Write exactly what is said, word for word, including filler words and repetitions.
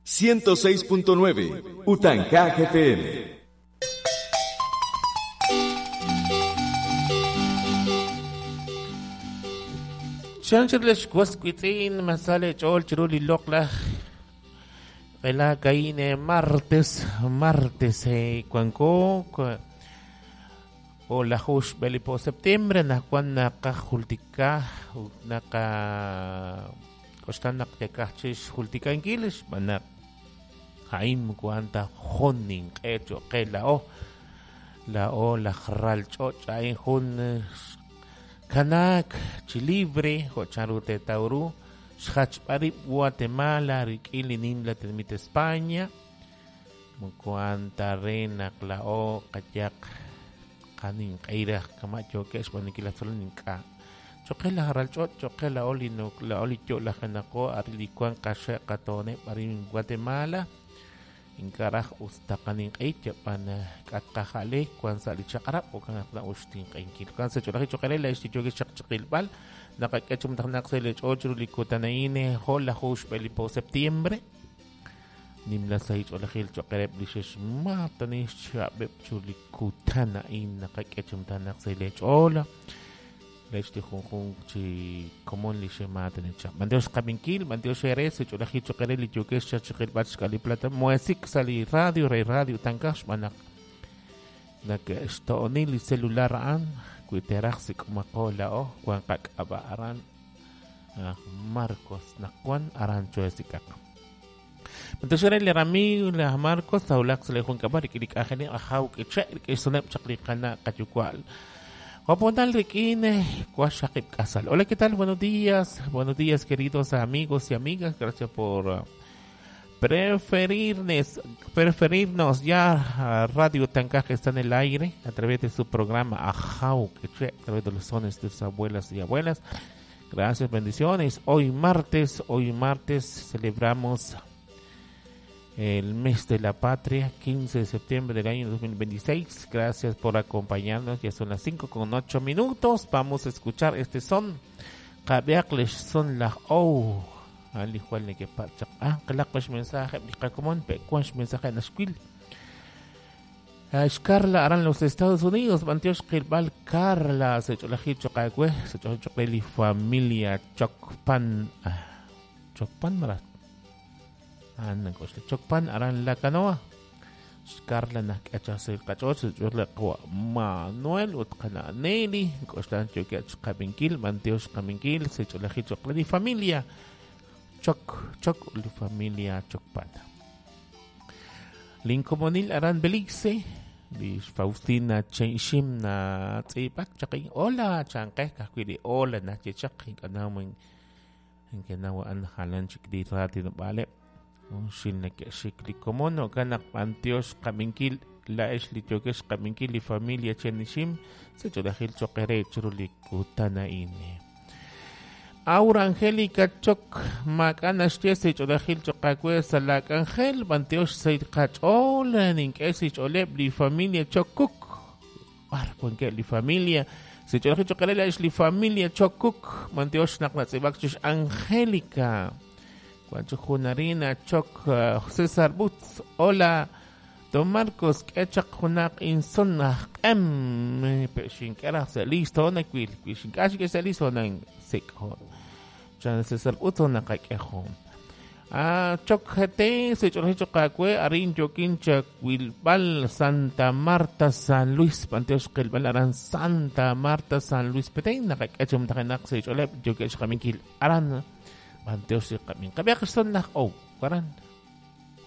ciento seis punto nueve Utancaj F M. Chanchirlesh wasquitzin masale chol chiruli lokla la caine martes martes eh cuanco o la hush belipo septiembre na cuan naka jultika naka kostan naktekachis jultika inquiles manak haim cuanta jonin hecho que la o la o la ralcho chain jun kanak chilibre hocharute tauru xhachparip Guatemala rikilinim la termita España mukuanta rena klao kayak kanin kaira kamacho que es bueno que la solinka choquela haralcho choquela olino la olicho la janako arilicuan kasha katone parin Guatemala inkaraj ustakanin kaicha pana katkajale kuan salichakarap o kan akla ustin kaikil kan sa cholaji chokarela istichoque chakchakilbal nakakechum taknaksele ocho likutanaine hola hush belipo septiembre nimla sa cholajil chokarep lishes matani chabep chulikutanain nakakechum tanaksele chola lechti junjun chi komon lixe matene cha mandios kabinkil mandios eres cholajil chokareli yokesh chachakil bach plata muesik sali radio rey radio tankash manak nak estoonil celular an kuiteraxik makola o kuan kak aba aran Marcos nakuan aran choesikak Entonces le rami la Marcos taulak sale jun kabar ikilik ajene ajaw kiche kisonep chaklikana kayukwal Hola, ¿qué tal? Buenos días, buenos días, queridos amigos y amigas. Gracias por preferirnos, preferirnos ya a Radio Tancaj, que está en el aire a través de su programa Ajau, a través de los sones de sus abuelas y abuelas. Gracias, bendiciones. Hoy martes, hoy martes celebramos el mes de la patria, quince de septiembre del año dos mil veintiséis. Gracias por acompañarnos. Ya son las cinco con ocho minutos. Vamos a escuchar este son. Kabiakles son la o. Ali jual ni que pacha. Ah, kalakwash mensaje. Kakumon pekwash mensaje nashquil. Carla aran los Estados Unidos. Mantiosh kilbal Carla. Se cholaji chocagüe. Se chocoli familia Chocpan. Chocpan marat. Anan ko Chocpan aran la canoa Carla na kachase kachoch churla kwa Manuel utkana Nelly kostan chokach kabinkil manteos kabinkil se cholaji chocledi familia Choc Choc li familia Chocpan Linkomonil aran Belice li Faustina Chenshim na tsipak chakin hola chanke kakwili hola na chechak kanamen kanawa an halan chikdi rati no bale un que xikli komono kanak pantios kaminkil la esli chokesh kaminkil li familia chenishim se chodajil chokere churuli kutanaine Aura Angélica Choc Macanash se chodajil chokakue salak Angel pantios se kachol ninkesi choleb li familia Chokuk arcuenque li familia se chodajil chokere la esli familia Chokuk mantios naknatzibakchish Angélica Juancho Junarina, Choc, uh, César Butz, hola, Don Marcos, Kechak Junak, Insonach, M, Peshinkara, listo, Naquil, Pishinkashi, que se listo, Nan, Sekho, Chan César Butz, Nakakejo. Ah, Choc G T, Sechochocacue, Arin, Yoquincha, Wilbal, Santa Marta, San Luis, Panteos, Kelbal, Aran, Santa Marta, San Luis, Petén, Nakakechum, Takenak, Secholep, Yokesh, Kaminkil, Aran. Manteos y kamin. Kabia son las o, karan.